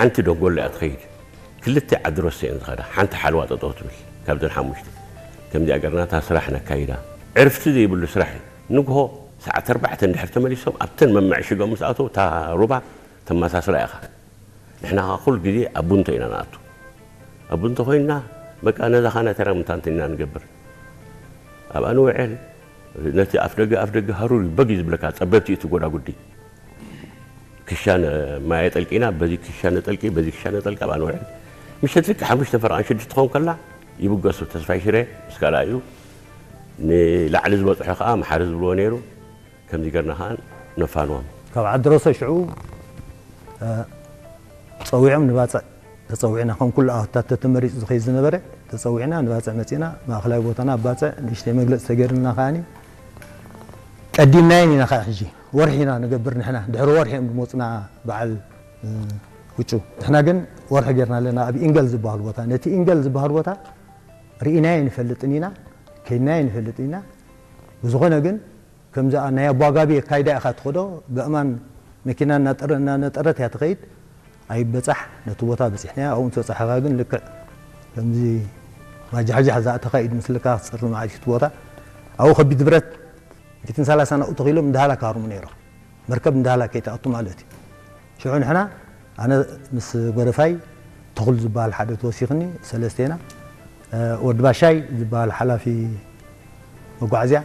ሓንቲ ደንጎሎ እያ ትኸይድ። ክልተ ዓዲ ሮሰ እየን ዝኸዳ። ሓንቲ ሓለዋ ጠጠው ትብል። ካብዘን ሓሙሽተ። ከምዚኣ ገርና እታ ስራሕ ነካይዳ። ዕርፍቲ ዘይብሉ ስራሕ እዩ። ንግሆ ሰዓት ኣርባዕተ እንድሕር ተመሊሶም ኣብተን መመዕሽጎም ምስ ኣተው እታ ሩባ ተመሳስላ ኢኻ። ንሕና ኸዓ ኩሉ ግዜ ኣብ ቡንቶ ኢና ንኣቱ። ኣብ ቡንቶ ኮይንና በቃ ነዛ ኻና ተራ ምታንትን ኢና ንገብር። ኣብኣ ንውዕል። ነቲ ኣፍ ደገ ኣፍ ደገ ሃሩር እዩ በግ እዩ ዝብለካ ጸበብቲ እዩ እቲ ጎዳጉዲ። ክሻነ ማየ ጠልቂና በዚ ክሻነ ጠልቂ በዚ ክሻነ ጠልቂ ኣብኣ ንውዕል። ምሸት ልክዕ ሓሙሽተ ፈረቓን ሽዱሽተ ትኸውን ከላ ይብገሱ ተስፋይ ሽረ ምስ ካልኣዩ ንላዕሊ ዝበጽሖ ከዓ መሓሪ ዝብልዎ ነይሩ። ከምዚ ገርና ከዓ ነፋንዎም። ካብ ዓዲ ሮሰ ሽዑ ጸዊዖም ንባጽዕ ተጸዊዕና ከም ኩሉ ኣወታት ተመሪጹ ዝኸይድ ዝነበረ ተጸዊዕና ንባጽዕ መጺና ማእኸላይ ቦታና ኣብ ባጽዕ ንእሽተይ መግለጺ ተገይርና ከዓኒ ቀዲምናየን ኢና ከዓ ሕጂ ወርሒ ኢና ንገብር ንሕና ድሕሪ ወርሒ እዮም ዝመፁና በዓል ውጩ ንሕና ግን ወርሒ ጌርና ኣለና ኣብ ኢንገል ዝበሃል ቦታ ነቲ ኢንገል ዝበሃል ቦታ ርኢናዮ ንፈልጥን ኢና ከይድናዮ ንፈልጥን ኢና ብዝኾነ ግን ከምዚ ናይ ኣቦ ኣጋቢ ኣካይዳ ኢኻ ትኸዶ ብእማን መኪና እናጠረ- እናነጠረት እያ ትኸይድ ኣይበጻሕ ነቲ ቦታ በጺሕናዮ ኣብኡ ምስ በጻሕኻ ግን ልክዕ ከምዚ ማጃሕጃሕ ዝኣ ተኻይድ ምስልካ ክጸር መዓልቲ እቲ ቦታ ኣብኡ ከቢድ ብረት ሚእትን ሰላሳን ኣብኡ ተኺሎም እንዳሃላ ክሃርሙ ነይሮም መርከብ እንዳሃላ ከይትኣቱ ማለት እዩ ሽዑ ንሕና ኣነ ምስ ጎደፋይ ተኽሉ ዝበሃል ሓደ ተወሲኽኒ ሰለስቴና ወዲ ባሻይ ዝበሃል ሓላፊ መጓዓዝያ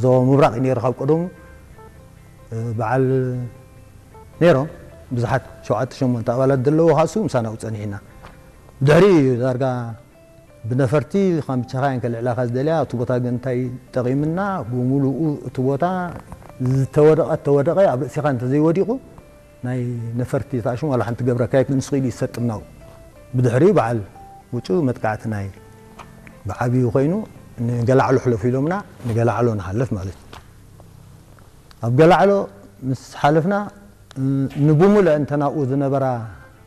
ዞባ ምብራቕ እዩ ነይሩ ካብ ቀደሙ በዓል ነይሮም ብዙሓት ሸውዓተ ሸሞንተ ኣባላት ዘለዎ ካሱ ምሳና ጸኒሕና ድሕሪ ዳርጋ ብነፈርቲ ካምቻኻ እየን ከልዕላኻ ዝደልያ እቲ ቦታ ግን እንታይ ጠቒምና ብምሉኡ እቲ ቦታ ዝተወደቐ ተወደቐ ኣብ ርእሲኻ እንተዘይወዲቑ ናይ ነፈርቲ ተኣሽሙ ዋላ ሓንቲ ገብረካ ኣይክእል ንስኺ ኢሉ ይሰጥምናው ብድሕሪኡ በዓል ውጩ መጥቃዕቲ ናይ ብዓብዩ ኮይኑ ንገላዕሎ ሕለፉ ኢሎምና ንገላዕሎ ንሓልፍ ማለት እዩ ኣብ ገላዕሎ ምስ ሓለፍና ንብሙልአ እንተናብኡ ዝነበራ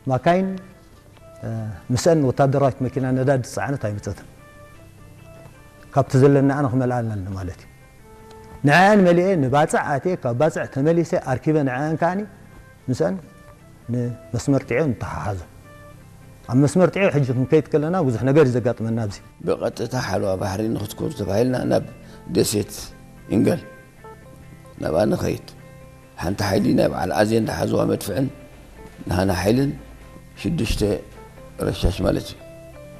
ማካይን ምስአን ወታደራዊት መኪና ነዳዲ ዝፀዓነት ኣይመፀትን ካብቲ ዘለናኣ ንክመልኣልና ማለት እዩ ንዐአን መሊኤ ንባፅዕ ኣትየ ካብ ባፅዕ ተመሊሰ ኣርኪበ ንዐአን ከዓኒ ምስአን ንመስመር ጥዕዮ ንተሓሓዞ ኣብ መስመር ጥዕዮ ሕጂ ክንከይድ ከለና ብዙሕ ነገር እዩ ዘጋጥመና ኣብዚ ብቐጥታ ሓለዋ ባሕሪ ንክትኮኑ ተባሂልና ናብ ደሴት ኢንገል ናብኣ ንኸይድ ሓንቲ ሓይሊ ናይ በዓል ኣዜን ዝሓዝዋ መድፍዕን ናህና ሓይልን ሽዱሽተ ረሻሽ ማለት እዩ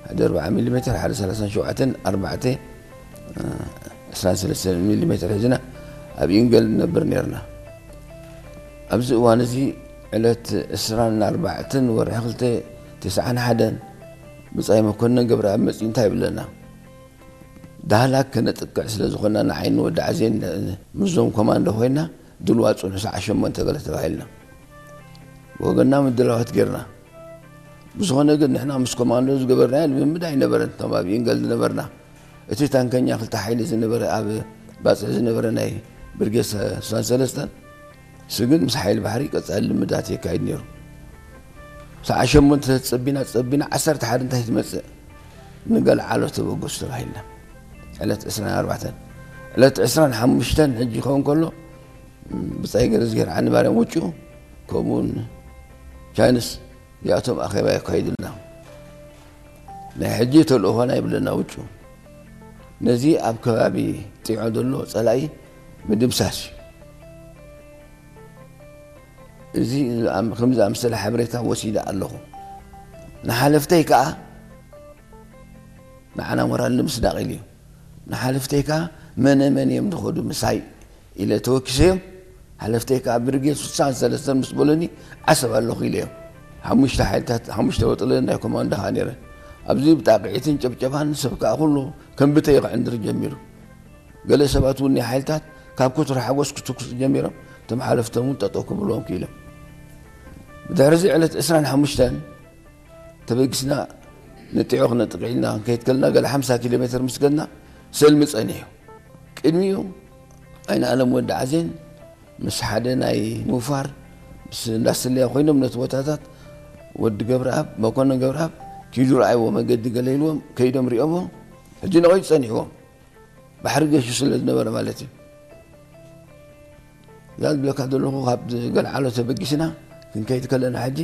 ሓደ ኣርባዓ ሚሊ ሜትር ሓደ ሰላሳን ሸውዓተን ኣርባዕተ ዕስራን ሰለስተን ሚሊ ሜትር ሒዝና ኣብ ኢንገል ንነብር ነርና ኣብዚ እዋን እዚ ዕለት ዕስራን ኣርባዕተን ወርሒ ክልተ ተስዓን ሓደን ብጻይ መኮንን ገብረኣብ መጺኡ እንታይ ይብለና ዳህላክ ከነጥቅዕ ስለ ዝኾንና ንዓይን ወዲ ዓዜን ምስዞም ኮማንዶ ኮይና ድልዋ ጽንሑ ሰዓ ሸሞንተ ገለ ተባሂልና ብወገንና ምድላዋት ጌርና ብዝኾነ ግን ንሕና ምስ ኮማንዶ ዝገበርናዮ ልምምድ ኣይነበረን እቶም ኣብ ኢንገል ዝነበርና እቲ ታንከኛ ክልተ ሓይሊ ዝነበረ ኣብ ባፅዕ ዝነበረ ናይ ብርጌድ ስሳን ሰለስተን ስግን ምስ ሓይሊ ባሕሪ ቀፃሊ ልምዳት የካይድ ነይሩ። ሰዓ ሸሞንተ ተፀቢና ፀቢና ዓሰርተ ሓደ እንታይ ትመፅእ ንገለ ዓሎ ተበገሱ ተባሂልና። ዕለት ዕስራን ኣርባዕተን ዕለት ዕስራን ሓሙሽተን ሕጂ ይኸውን ከሎ ብፃይ ገረዝጌር ዓንባርያም ውጭኡ ከምኡውን ቻይንስ እዚኣቶም ኣኼባ የካይዱልና። ናይ ሕጂ ተልእኾና ይብለና ውጩ። ነዚ ኣብ ከባቢ ጢዖ ዘሎ ጸላኢ ምድምሳስ እዩ። እዚ ከም ዝኣምሰለ ሓበሬታ ወሲደ ኣለኹ። ንሓለፍተይ ከኣ ንዓና ሞራል ንምስዳቕ ኢሉ እዩ። ንሓለፍተይ ከኣ መነ መን እዮም ዝኸዱ ምሳይ ኢለ ተወኪሰዮም ሓለፍተይ ከኣ ብርጌድ ስሳን ሰለስተን ምስ በሉኒ ዓሰብ ኣለኹ ኢለዮም። ሓሙሽተ ሓይልታት ሓሙሽተ ወጥለን ናይ ኮማንዶ ከኣ ነይረን። ኣብዚ ብጣቕዒትን ጨብጨባን ሰብ ከኣ ኩሉ ከም ብተይ ክዕንድር ጀሚሩ። ገለ ሰባት እውን ናይ ሓይልታት ካብ ኩትሪ ሓጎስ ክትኩሱ ጀሚሮም እቶም ሓለፍቶም እውን ጠጠው ክብልዎም ክኢሎም። ብድሕሪ እዚ ዕለት ዕስራን ሓሙሽተን ተበጊስና ንጢዖ ክነጥቅዕ ኢልና ክንከይድ ከለና ገለ ሓምሳ ኪሎ ሜትር ምስ ከድና ሰልሚ ጸኒሑ። ቅድሚኡ ኣይንኣለም ወዲ ዓዜን ምስ ሓደ ናይ ምውፋር ምስ እንዳስለያ ኮይኖም ነቲ ቦታታት ወዲ ገብረኣብ መኮንን ገብረኣብ ኪዱ ረኣይዎ መገዲ ገለ ኢልዎም ከይዶም ሪኦሞ ሕጂ ንቐይዱ ጸኒሕዎም ባሕሪ ገሹ ስለ ዝነበረ ማለት እዩ እዛ ዝብለካ ዘለኹ ካብ ገልዓሎ ተበጊስና ክንከይድ ከለና ሕጂ